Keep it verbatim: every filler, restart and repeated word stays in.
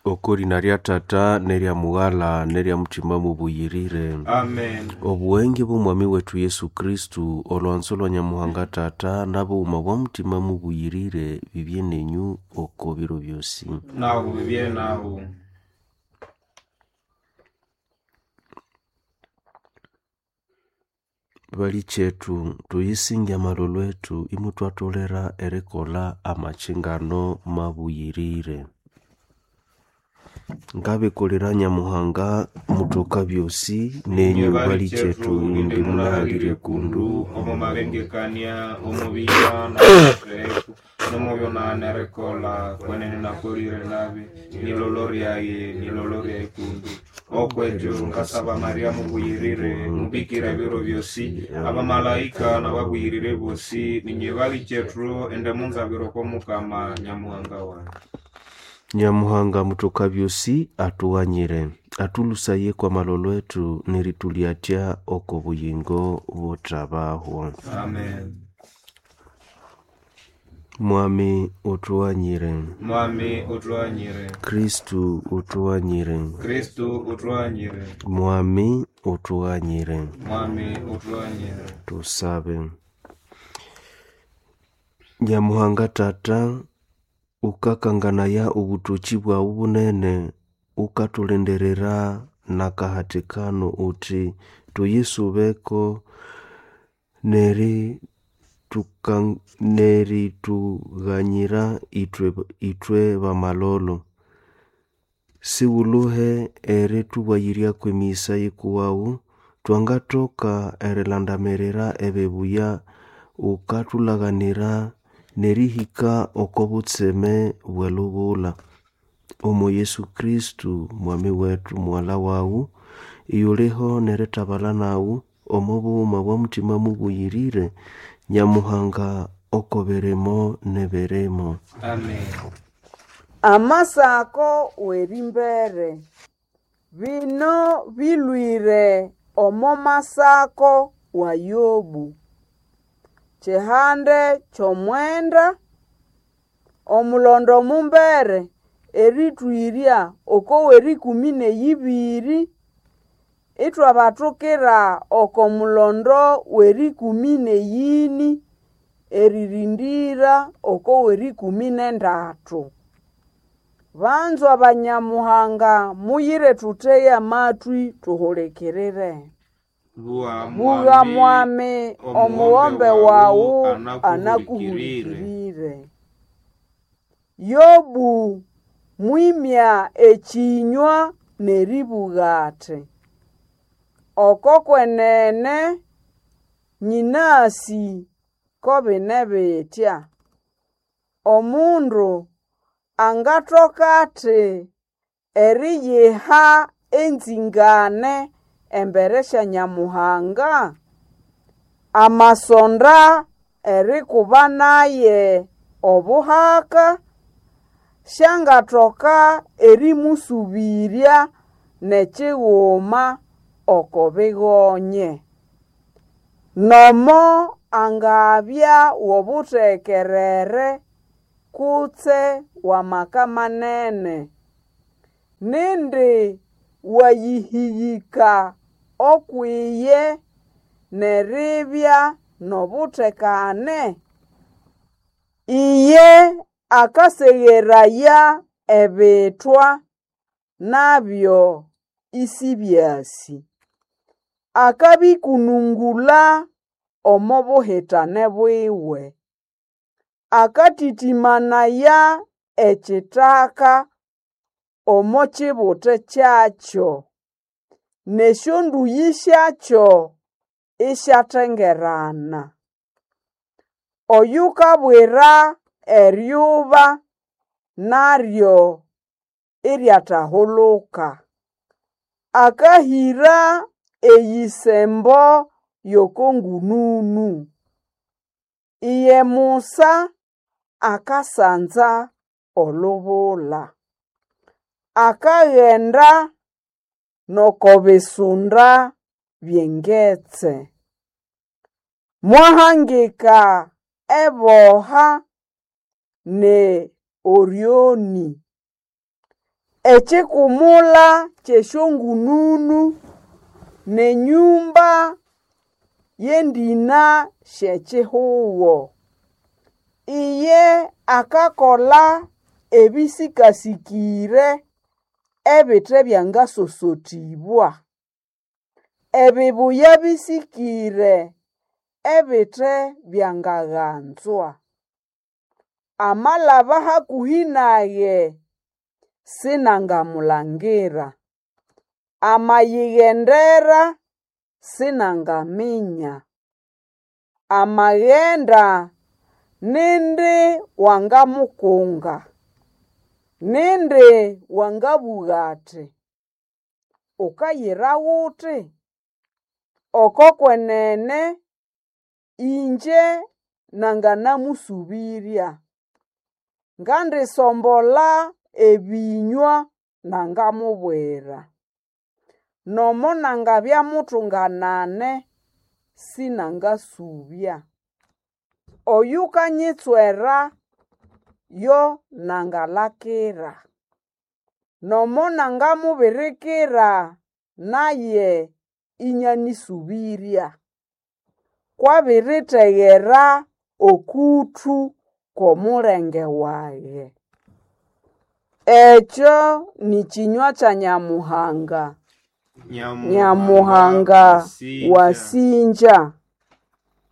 Okorina rya Tata nerya Mughala nerya Mutima mubuyirire. Amen. Obuwenge bw'Omwami wetu Yesu Kristu, olwanzo lwa Nyamuhanga Tata n'abughuma bwa Mutima mubuyirire bibye nenyu oko biro byosi. Nahu bibye nahu. Bali chethu tuyisinge amalolo ethu imutwatolera erikolha amakyingano mabuyirire. Ngabikolera Nyamuhanga mutoka byosi nenyu Nye bali chethu indi munahalire kundu omo mabengekania omubiya naeku nomubyonana erikola kwenene nakolire nabi nilolo ryaye nilolo ryaye kundu okwejo ngasaba Maria mubuyirire mubikira ebiro byosi abamalaika nababuyirire bosi ninye bali chethu ende munzabiro kw'omukama Nyamuhanga wange. Nyamuhanga mutoka byosi atughanyire atulusaye kwa malolo ethu neritulyatya oko buyingo buthabahwa. Amen. Mwami utughanyire. Mwami utughanyire. Kristu utughanyire. Kristu utughanyire. Mwami utughanyire. Mwami utughanyire. Tusabe. Nyamuhanga Tata, ukakanganaya obutoki bwawu bunene, ukathulindirira n'akahatikano uthi tuyisubeko neri tuka neritughanyira ithwe ithwe bamalolo. Siwulhuhe erithubayiryako emiyisa yikuwawu, twangathoka erilandamirira ebibuya wukathulhaganira nerihika oko butseme bw'elubula. Omo Yesu Kristu Mwami wethu mughalha wawu, iyuliho nerithabalha nawu omo bughuma bwa Mutima mubuyirire, Nyamuhanga oko birimo n'ebirimo. Amen. Amasako w'erimbere. Bino bilwire omo masako wa Yobu. Kihande ky'omwenda, omulondo mumbere erithwirya oko w'erikumi n'eyibiri, ithwabathukira oko mulondo w'erikumi n'eyini eririndira oko w'erikumi n'endathu. Banzwa banyamuhanga muyire thutheye amatwi thuhulikirire. Bugha Bugha mwami omughombe wawu anakuhulikirire. anakuhulikirire. Yobu mwimya ekinywa neribugha athi, oko kwenene nyinasi ko bine bitya. Omundu angathoka athi eriyiha enzingane embere sya Nyamuhanga? Amasonda erikuba naye obuhaka syangathoka erimusubirya n'ekighuma oko bigonye. Nomo angabya w'obuthekerere kutse w'amaka manene, nindi wayihiyika okwiye neribya n'obuthekane? Iye akasegheraya ebithwa nabyo isibyasi. Akabikunungula omo buhitane bwiwe. Akatĩtĩmanaya ekithaka omo kibuti kyakyo, n'esyondũyĩ syakyo isyatengerana. Oyukabwira eryuba naryo iryathahuluka. Akahĩra eyisembo y'oko ngununu. Iye Musa akasanza olubula. Akaghenda n'oko bisunda by'engetse. Mwahangika eboha ne Orioni. Ekikumula ky'esyongununu n'enyumba y'endĩna sy'ekihugo. Iye akakola ebĩsĩkasĩkĩre ebite byangasosotĩbwa, ebibuya bĩsĩkĩre ebite byangaganzwa. Amalaba hakũhĩ nage sinangamulangira, amayighendera sinangaminya. Amaghenda nindi wangamukunga, nindi wangabũga ati, "Ukayira ghuti?" Oko kwenene ingye nanganamũsũbĩrya, ngandisombola ebĩnywa nangamubwira. Nomo nangabya mutunganane sinangasũbya. Oyukanyitswera yo nangalakira, nomo nangamubirikira naye ĩnyanĩsũbĩrya. Kwabiritegera okuthu kw'omulenge wage. Ekyo ni kĩnywa kya Nyamuhanga. Nyamuhanga Nyamuhanga wasinja.